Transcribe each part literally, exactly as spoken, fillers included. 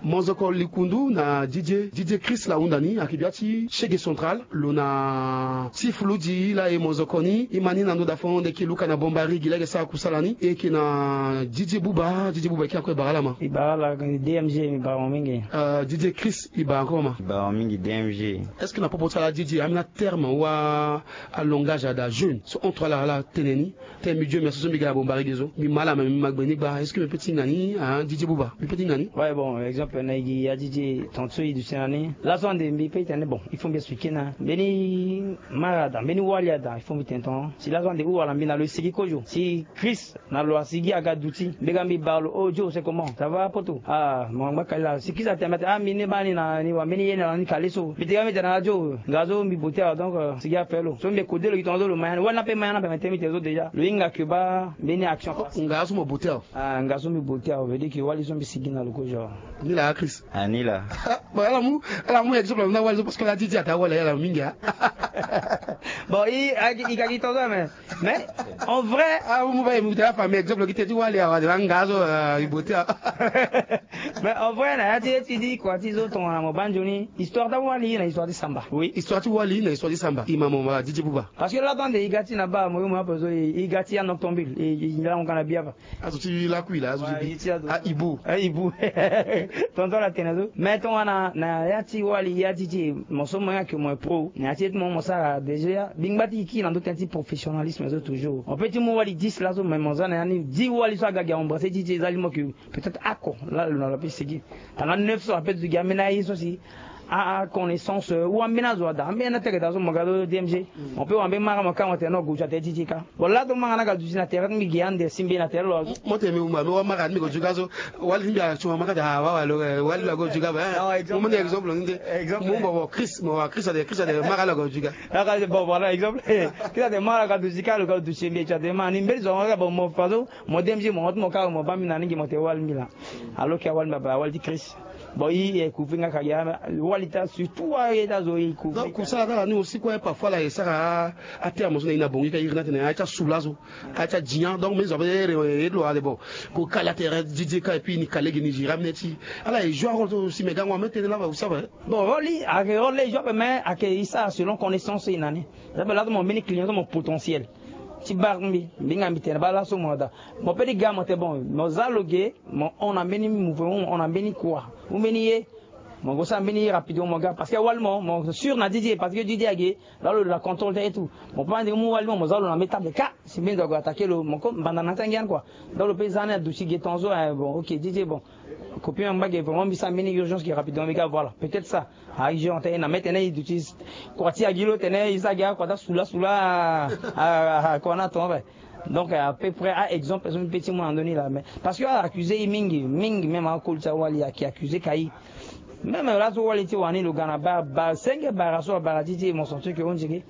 Monzoko likundu na Didier, Didier Chris la hunda ni, ayeke bia ti Shege Central, lo na ti fulu di la e monzoko ni, e ma ni na ndo da fo nde ki luka na Bombari gi lege sa kusala ni, e yeke na Didier Bouba, Didier Bouba e ki akue bara la ma. E bara la, D M G, e bara mo mingi. Euh, Didier Chris, e bara encore ma. E bara mo mingi, D M G. Est-ce que na popo ti ala Didier, ambeni aterme wala alongage ada jeune so entre ala ala tene ni? Tene mbi dio mbi aso so mbi ga na Bombari gi so, mbi ma ala ma mbi ma gbe ni gba. Est-ce que mbi peut ti hinga ni, ah, Didier Bouba? Mbi peut ti hinga ni? Ouais, bon, exemple na e gi ya Didier, tongaso e duti na ni laso ande mbi peut ti tene, bon, il faut mbi expliquer na mbeni mara ada, mbeni wali ada, il faut mbi tene tonga. Si laso ande hou wala mbi na lo e sigi kozo. Si Chris na lo asigi aga duti, mbi ga mbi baa lo: oh, Joe, c'est comment? Ça va poto? Ah, mo ngba kali la. Si Chris atene mbi atene, ah, mbi ne baa ni na ni wa mbeni ye na ni kale so. Mbi tene mbi tene na Joe, nga so mbi bote awe, donc, euh, sigi ape lo. So mbi kode lo gi tongaso lo ma ya ni. Wali ni ape ma ya ni ape, mbi tene mbi tene so déjà lo hinga ke baa mbeni action. Nga so mo bote awe. Ah, nga so mbi bote awe, veut dire que wali so mbi sigi na lo kozo. Ni la, Chris. Ah, ni la. Bon, ala mu, ala mu exemple na wali so parce que la Didier ata wali ala mingi, ah. Bon, i, i, i ka gi tongaso, mais, mais, en vrai. Ah, mu ba, mu ta fa, mais exemple, ki te ti wali awa, de nga so, euh, i bote awe. Mais en vrai, na ya ti, ti di kua ti zo tongana mo baa nzoni, histoire ti awali na histoire ti samba. Oui, histoire ti wali na histoire ti samba. I ma mo ma Didier Bouba. Parce que laso ande i ga ti na baa, mo yo mo ape so, i, i ga ti anoctambule, i, i, i lango ka na bia ape. Azo ti lakui la, azo ti bi. Ahibu. Ahibu. Tongaso ala tene so. Mais tongana na ya ti wali, ya ti ti, mo so mo yeke mo pro. Na ya ti ye ti mo, mo sara déjà. Bingba ti ki na ndo tënë ti professionnalisme so toujours. Mo peut ti mu wali dix laso, mais mo za na ya ni dix wali so aga gi a embrasser ti ti, eza li mo ke peut-être ako la lo na lo ape sigi. Tanga neuf so ape ti gi ambeni aye so si a, a connaissance, euh, ou ambeni azo ada, ambeni atere da so mo ga so D M G. Mo peut wara mbeni mara mo ka mo tene no go ti atene ti ti ka. Bon, la so mara ni aga duti na tere ti mbi gi ande si mbi na tere lo azo. Mo tene mbi wumba, mbi wara mara ni mbi go juga so. Wali ti mbi action mara ti awa wa lo, eh, wali lo ago juga ba. Non, exemple. Mo moni exemple ni nde. Exemple. Mo wumba wo Chris, mo wara Chris ade, Chris ade mara lo ago juga. Aka bon, voilà exemple. Chris ade mara aga duti ka lo ga duti mbi ti ade mara ni mbeni zo nga bon mo fa so. Mo D M G mo hon ti mo ka mo baa mbi na ni gi mo tene wali mbi la. Alors que awali mbi abaa wali ti Chris. Bon, i, i couvrir nga ka gi wali ta, surtout wali ta zo i couvrir. Donc kusala ta la ni aussi quoi, parfois la e sara aterme so na i na bongi ka iri na tene aye ti asula so, aye ti adia. Donc mbeni zo ape ere ere lo ade bon. Ko kala tere Didier ka et puis ni kale gi ni gira mene ti ala e joue rôle so aussi, mais gango ame tene laba aussi ape. Bon, rôle i ayeke rôle e joue ape, mais ayeke i sara selon connaissance i na ni. Ape laso mo mbeni client so mo potentiel ti bar ti mbi, mbi hinga mbi tene baa laso mo daa. Mo peut ti ga mo tene bon, mo za lo ge, mo hon na mbeni mouvement, mo hon na mbeni kua ou mbeni ye. Mo go sara mbeni ye rapidement mo ga, parce que wali mo, mo sûr na Didier, parce que Didier age, là lo na contrôle ti aye et tout. Mo peut ande mu wali mo, mo za lo na mbeni table ka, si mbeni zo ague attaquer lo, mo ko mbanda na ti angia ni quoi. Donc lo peut za ni aduti ge tongaso, eh, bon, ok, Didier, bon. Copie mbi ngba ge, vraiment mbi sara mbeni urgence ge rapidement mbi ga, voilà. Peut-être ça. Ah, urgent tene na mbi tene i duti kua ti agi lo tene i sara ge akua ti asula sula, ah, ah, kua na tonga ape. Donc à peu près a exemple so mbi peut ti mu na ndoni la, mais parce que a accusé i mingi mingi, même akoli ti awali ayeke accusé ka i. Même laso wali ti wani lo ga na bar, bar senge bara so abara ti ti mo sentir que on dirait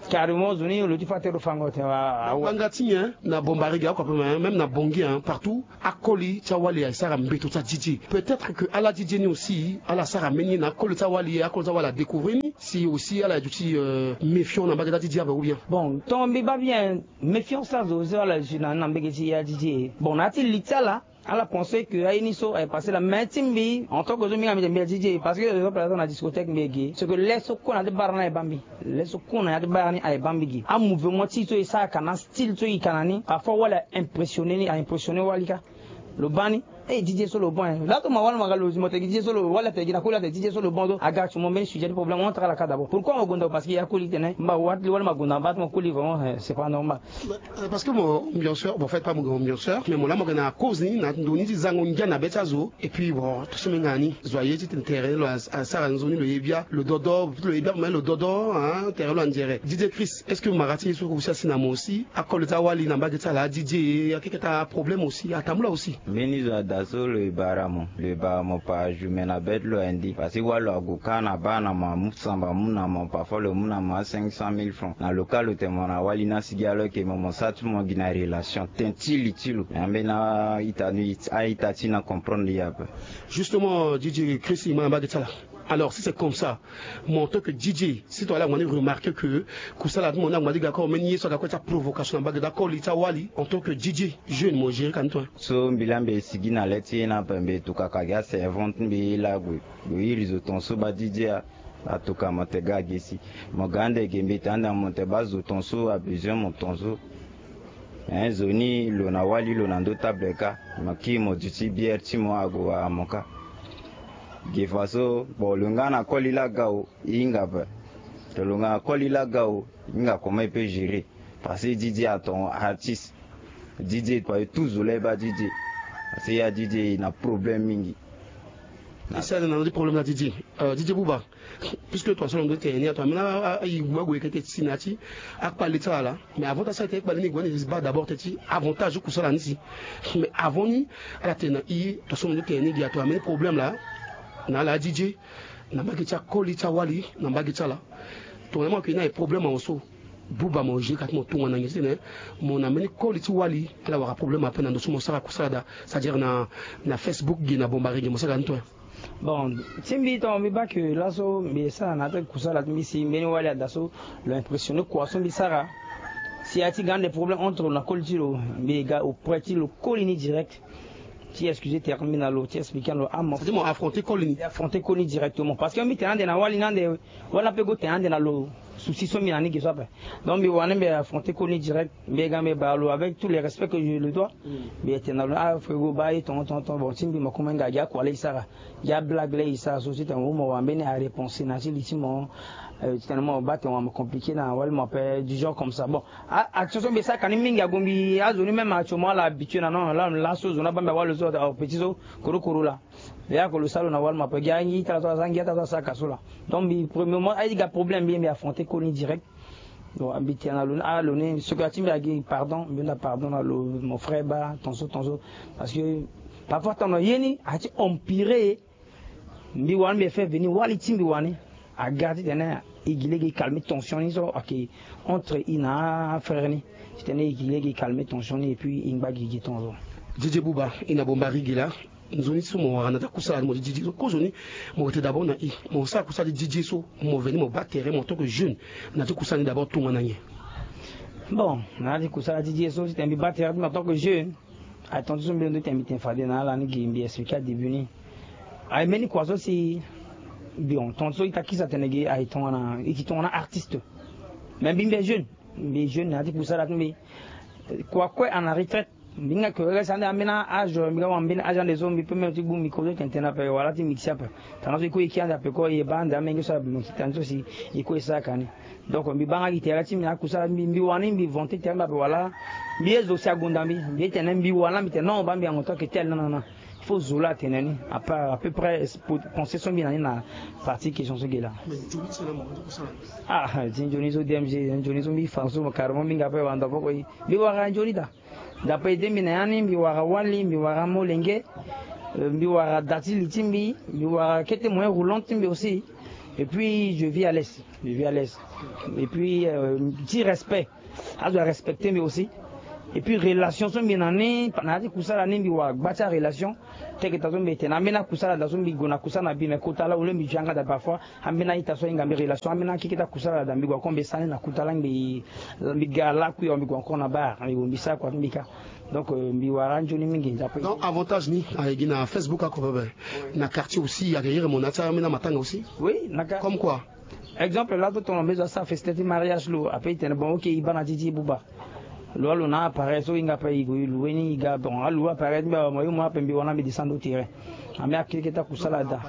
carrément zo ni lo ti fa tere lo fango tene wa. Banga ti nyen na Bombari ge akua ape, même na Bongi, hein, partout. Akoli ti awali aye sara mbeto ti adidi. Peut-être que ala didi ni aussi ala sara mbeni ye na akoli ti awali, akoli ti awali adécouvrir ni si aussi ala ye duti, euh, méfiant na mbage ti adidi ape ou bien? Bon, tonga mbi baa bien, méfiance ti azo so ala ye duti na, na mbage ti adidi. Bon, na ya ti li ti ala, ala pensé que aye ni so aye passé la, mais ti mbi en tant que zo mbi nga mbi tene mbi adidi parce que exemple azo na discothèque mbi ye ge, c'est que le so kue na ya ti bar ni aye baa mbi. Le so kue na ya ti bar ni aye baa mbi ge. Amouvement ti e so e sara ka na style so e ka na ni, parfois wali a impressionné ni, a impressionné wali ka. Lo baa ni, eh, Didier so lo bon, eh. Laso ma wali ma ga lo zi mo tene Didier so lo, wali atene gi na koli atene Didier so lo bon so. Aga ti mo mbeni sujet ti problème entre ala ka d'abord. Pourquoi mo gonda? Parce que ya koli tene mba wali, wali ma gonda mba ti mo koli vraiment, eh, c'est pas normal. Euh, parce que mo ambianceur, bon, en fait pas mo ambianceur, mais mo laa mo ga na cause ni na ndoni ti zango ngia na be ti azo. Et puis bon, to so mbi nga ni zo aye ti tene tere lo a, asara nzoni lo ye bia lo dodo, lo ye bia me lo dodo, hein, tere lo anzere. Didier Chris, est-ce que mara ti ye so aussi asi na mo aussi? Akoli ti awali na mbage ti ala adidi, akeke ta problème aussi atambula aussi. Mbeni zo ada so lo ye bara mo, lo ye bara mo par jour me na be ti lo andi. Parce que wali lo ague ka na bar na mo amu samba amu na mo, parfois lo mu na mo a cinq cent mille francs. Na lo ka lo tene mo na wali ni asigi alors que mo, mo sara ti mo gi na relation, tene ti li ti lo. Ambeni a-ita ni, a-ita ti na comprendre ye ape. Justement, Didier Chris, i ma na mbage ti ala. Alors si c'est comme ça, mo en tant que D J, si to ala ngba ni remarquer que kusala ti mo ni angba ni ga kue, mo meni ye so aga kue ti aprovocation na mbage ti akoli ti awali, en tant que D J jeune, mo gérer ka ni to. So mbi laa mbi sigi na le ti e ni ape, mbi tukaka gi aservante ti mbi e laa gue. Gue iri zo ton so ba D J a, atuka mo te ga gi si. Mo ga ande ge mbi te ande mo te ba zo ton so a besoin mo ton so. Hein, zo ni lo na wali lo na ndö table kâ. Mo kiri mo duti bière ti mo ague wara mo kâ. Ge faso bon lo nga na koli laa ga o, e hinga ape. To lo nga na koli laa ga o, e hinga comment e peut gérer. Parce que D J aton artiste. D J parce que tout zo laa e ba D J. Parce que ya D J e na problème mingi. E sara na na ti problème na D J. Euh, D J Bouba, puisque ton so lo ndo tene ni ato amena ayigu ague kete ti si na ya ti akpale ti ala. Mais avant ti asara tene akpale ni gue ni ba d'abord tene ti avantage ti kusala ni si. Mais avant ni ala tene na i ton so lo ndo tene ni gi ato ameni problème laa na ala D J na mbage ti akoli ti awali na mbage ti ala. Tongana mo yeke na e problème awe so, Bouba mo gérer ka ti mo tongana nyen titene mo na mbeni koli ti wali ala wara problème ape na ndo so mo sara kusala daa, c'est-à-dire na, na Facebook ge na Bombari ge mo sara ni to. Bon, ti mbi tonga mbi baa ke laso mbi sara na ya ti kusala ti mbi si mbeni wali ada so lo impressionner kua so mbi sara. Si aye ti ga ande problème entre lo na koli ti lo, mbi ga auprès ti lo koli ni direct. Ti excuser tere ti mbi na lo, ti expliquer na lo ah mo. C'est-à-dire mo affronter koli ni. Affronter koli ni directement parce que mbi tene ande na wali ni ande, wali ni ape go tene ande na lo. Souci so mbi na ni ge so ape. Donc mbi wani mbi affronter koli ni direct, mbi ga mbi baa lo avec tout le respect que je le dois. Mbi tene na lo ah frego baa ye tongo tongo tongo, bon ti mbi mo koma hinga gi akua laa e sara, gi ablague laa e sara so titene mo wara mbeni aréponse na ti li ti mo. Euh, titene mo baa tene wara mo compliqué na wali mo ape du genre comme ça. Bon, a, action so mbi sara ka ni mingi ague mbi azo ni même action mo ala habitué na non laa laso zo ni abaa mbi awali lo so petit so korokoro laa. Mbi yaka lo sara lo na wali mo ape gi angi ita so aza angi ita so asara ka so laa. Donc mbi premièrement aye ti ga problème mbi ye mbi affronter koli ni direct. Donc mbi tene na lo ni ah lo ni so ka ti mbi agi pardon, mbi hunda pardon na lo mon frère baa ton so ton so. Parce que parfois tongana ye ni aye ti empirer. Mbi wani mbi fait venir wali ti mbi wani aga titene e gi lege e calmer tension ni so ayeke entre e na afrère ni. Titene e gi lege e calmer tension ni et puis e ngba gigi ton so. D J Bouba, e na Bombari ge laa, nzoni so mo wara na ya ti akusala ni mo ti D J so kozoni, mo yeke tene d'abord na e mo sara kusala ti D J so mo veni mo baa tere mo en tant que jeune na ya ti kusala ni d'abord tongana nyen? Bon, na ya ti kusala ti D J so titene mbi baa tere ti mbi en tant que jeune. Aye tongaso mbi londo tene mbi tene fade na ala ni gi mbi expliquer adébut ni. Aye mbeni kua so si bon tongaso ita kisa tene gi aye tongana e yeke tongana artiste. Mais mbi mbi jeune, mbi jeune na ya ti kusala ti mbi. Kua kue ana retraite. Mbi hinga ke reste ande ambeni âge mbi ga wara mbeni âge ande so mbi peut même ti gbu micro so tene tene ape wala ti mixer ape. Tongana so e kue e kiri ande ape ko e baa ande amenge so ape mo ti tani so si e kue e sara ka ni. Donc mbi baa nga gi tere ti mbi na akusala ti mbi, mbi wani mbi vanter tere ti mbi ape wala mbi ye zo si agonda mbi, mbi ye tene mbi wala mbi tene non baa mbi en tant que tel non non non. Il faut zo laa atene ni à peu près pensée so mbi na ni na partie question so ge laa. Ah ti nzoni so D M G nzoni so mbi fa so carrément mbi nga ape wanda poko e mbi wara nzoni daa. D'après ede mbi na ya ni mbi wara wali, mbi wara molenge, euh, mbi wara da ti li ti mbi, mbi wara kete moyen roulant ti mbi aussi. Et puis je vis à l'aise, je vis à l'aise. Et puis euh, ti respect, azo arespecter mbi aussi. Et puis relation so mbi na ni na ya ti kusala ni mbi wara gba ti arelation. Teke ta so mbi tene ambeni akusala da so mbi gue na kusala na bi me kota laa wule mbi yanga da parfois. Ambeni a-ita so ahinga mbi relation ambeni akeke ti akusala da mbi gue ako mbi sara ni na kuta laa mbi mbi ga lakui awe mbi gue encore na bar mbi gue mbi sara kua ti mbi kâ. Donc euh, mbi wara anzoni mingi. Donc avantage ni ayeke gi na Facebook ako pepe. Na quartier aussi ayeke iri mo na ya ti ambeni amatanga aussi. Oui na quartier. Comme quoi? Exemple laso tongana mbi zo asara festin ti mariage lo ape e tene bon ok e baa na ti ti e buba. Lo alo na appareil so e hinga ape e gue e loue ni e ga bon aloue appareil ti mbi awe mo ye mo ape mbi wani mbi descendre au terrain. Ambi akeke ti akusala da.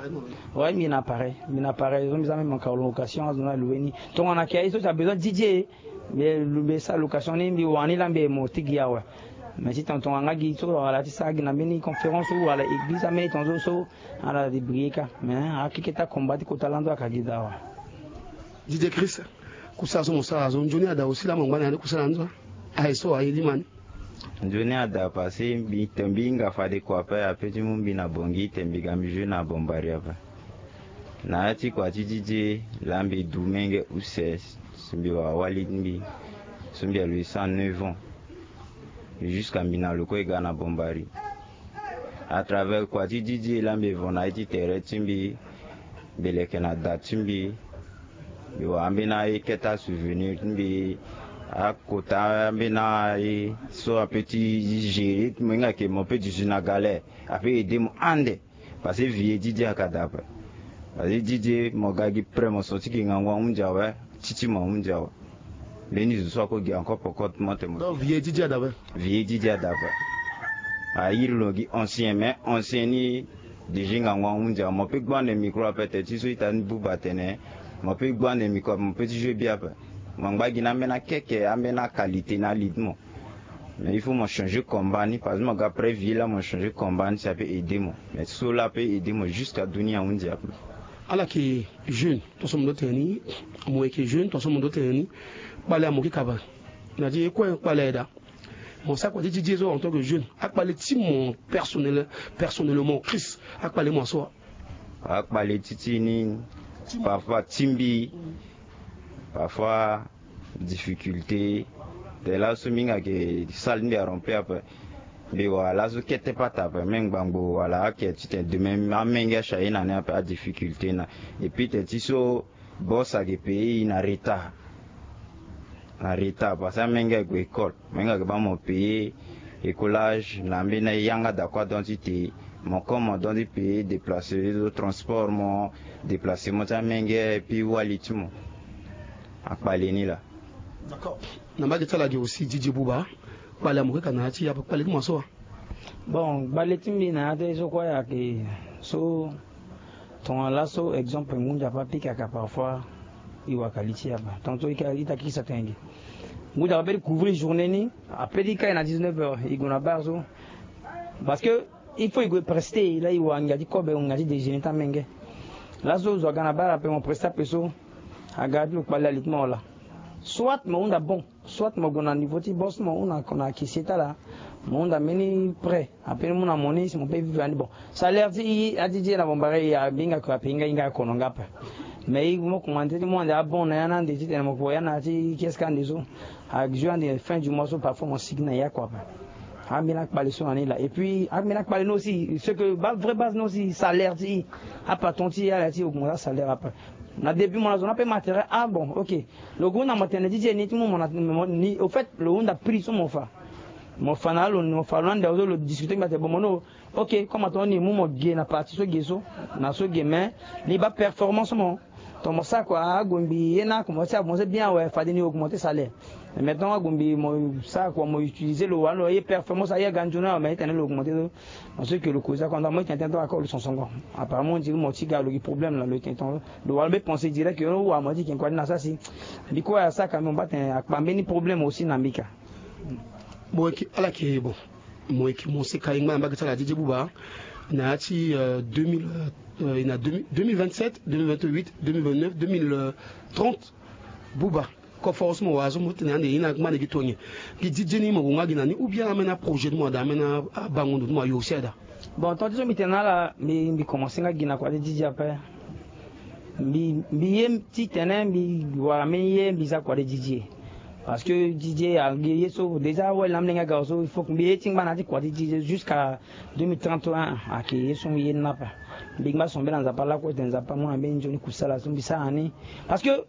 Ouais mbi na appareil mbi na appareil so mbi za même en colocation azo ni aloue ni. Tongana ke aye so si abesoin D J. Mbi sara location ni mbi wani laa mbi mo ti gi awe. Mais ti tongana tongana nga gi so wala ti sara gi na mbeni conférence ou wala église ambeni tongaso so ala débrouiller kâ. Mais akeke ti akomba ti kota lando aka gi da awe. D J Chris. Kusala so mo sara so nzoni ada aussi laa mo ngba na ya ni kusala ni so. Aye so aye lima ni. Nzoni ada parce que mbi te mbi hinga fade kua ape ape ti mu mbi na bongi te mbi ga mbi joue na bombari ape. Na ya ti kua ti D J laa mbi du menge use. Si mbi wara wali ti mbi so mbi alo e cent neuf ans. Jusqu'à mbi na lo kue e ga na bombari. À travers kua ti D J laa mbi vo na ye ti tere ti mbi. Mbi leke na da ti mbi. Mbi wara ambeni aye kete asouvenir ti mbi. Akota ambeni aye so ape ti gérer ti mo hinga ke mo pe duzu na galère. Ape aider mo ande. Parce que vie ti Didier ayeke daa ape. Parce que Didier mo ga gi prêt mo so ti gi ngangu ahunzi awe. Ti ti mo ahunzi awe. Mbeni zo so ako gi encore poko ti mo te mo. Donc vie ti Didier adape. Vie ti Didier adape. Ayiri lo gi ancien mais ancien ni. Diji ngangu ahunzi awe mo pe gbande micro ape te ti so ita ni buba atene. Mo pe gbande micro ape mo pe ti jouer bien ape. Mo ngba gi na ambeni akeke ambeni aqualité na ali ti mo. Mais il faut mo changer combat ni parce que mo ga prêt vie la mo changer combat ni si ape aider mo. Mais so la ape aider mo jusqu'à dunia ahunzi ape. Ala yeke jeune. Tonso mo ndo tene ni. Mo yeke jeune tonso mo ndo tene ni. Kpale ya mo kika ape. Na ti ye kue kpale aye daa. Mo sara kua ti ti ti ye so en tant que jeune akpale ti mo personnel personnellement Christ akpale mo aso wa. Akpale ti ti ni. Parfois ti mbi. Parfois difficulté. Te laso mbi hinga ke salle mbi arempli ape. Mbi wara laso kete pata ape me ngbangbo wala ake ti tene demain amenge achaye na ni ape adifficulté na. Et puis te ti so boss ayeke payer e na retard. Na retard parce que amenge ague école. Amenge ayeke baa mo payer écolage na ambeni ayanga dakua donc ti te. Mo comme mo donc ti payer déplacer so transport mo déplacer mo ti amenge et puis wali ti mo. Akpale ni laa. D'accord. Na mbage ti ala gi aussi Didier Bouba. Kpale ya mo keka na ya ti ya ape kpale ti mo aso wa. Bon kpale ti mbi na ya ti so kue ayeke so. Tongana laso exemple ngu nzapa apikaka parfois. E waka li ti e ape tongana so e ta kikisa tenge. Ngu nzapa ape ti couvrir journée ni. Ape ti kai na dix-neuf heures e gue na bar so. Parce que il faut e gue prester la e wara ngia ti kobe ngia ti déjeuner ti amenge. Laso zo aga na bar ape mo prester ape so. Aga ti lo kpale ali ti mo wala. Soit mo hunda bon. Soit mo gue na niveau ti boss mo hunda na caissier ti ala. Mo hunda mbeni prêt ape ni mu na mo ni si mo pe vivre andi bon. Salaire ti i ati ti e na bombare i abinga ko ape hinga hinga akono nga ape. Mais i mo kumande ti mo ande abon na ya na ande titene mo ko ya na ya ti keske ande so. Ajour ande fin du mois so parfois mo sigi na ya ko ape. Ambeni akpale so na ni laa et puis ambeni akpale ni aussi ce que ba vrai base ni aussi salaire ti i. Apatron ti i ala ti augmente asalaire ape. Na début mo na zo ni ape matériel ah bon ok. Lo gue hunda mo tene ti ti e ni ti mu mo na ni au fait lo hunda prix so mo fa. Mo fa na lo mo fa lo na ande so lo discuter ngbate bon mo no. Ok comme atonga ni mu mo ge na partie so ge so. Na so ge mais ni baa performance mo. Ton mo sara kua ague mbi ye na commencer avancer bien awe fade ni augmenter salaire. Mais maintenant ague mbi mo sara kua mo utiliser lo wala lo ye performance aye aga nzoni awe mais itene lo augmenter so. Parce que lo koza kua mo itene tene to akor lo sonsongo. Apparemment on dirait mo ti ga lo gi problème na lo itene tene lo wala mbe penser direct yo wa mo ti ken kua ni na sasi. Mbi kue asara ka mbi mo mba tene akpa mbeni problème aussi na mbi ka. Bon eke ala ke bon. Mo yeke mo seka e ngba na mbage ti ala Didier Bouba na ya ti deux mille na deux mille vingt-sept, deux mille vingt-huit, deux mille vingt-neuf, deux mille trente. Bouba koforo so mo wara so mo tene ande ye na ngba na gi tonye. Gi Didier ni mo gue nga gi na ni ou bien ameni aprojet ti mo ada ameni abango ndo ti mo ayo aussi ada. Bon tant ti so mbi tene na ala mbi mbi commencer nga gi na kua ti Didier ape. Mbi mbi ye titene mbi wara mbeni ye mbi za kua ti Didier. Parce que Didier agi ye so déjà awali na amolenge aga so il faut que mbi ye ti ngba na ya ti kua ti Didier jusqu'à deux mille trente et un. Ayeke ye so mbi ye ni na ape. Mbi ngba so mbeni na Nzapa lakue tene Nzapa amu na mbeni nzoni kusala so mbi sara na ni. Parce que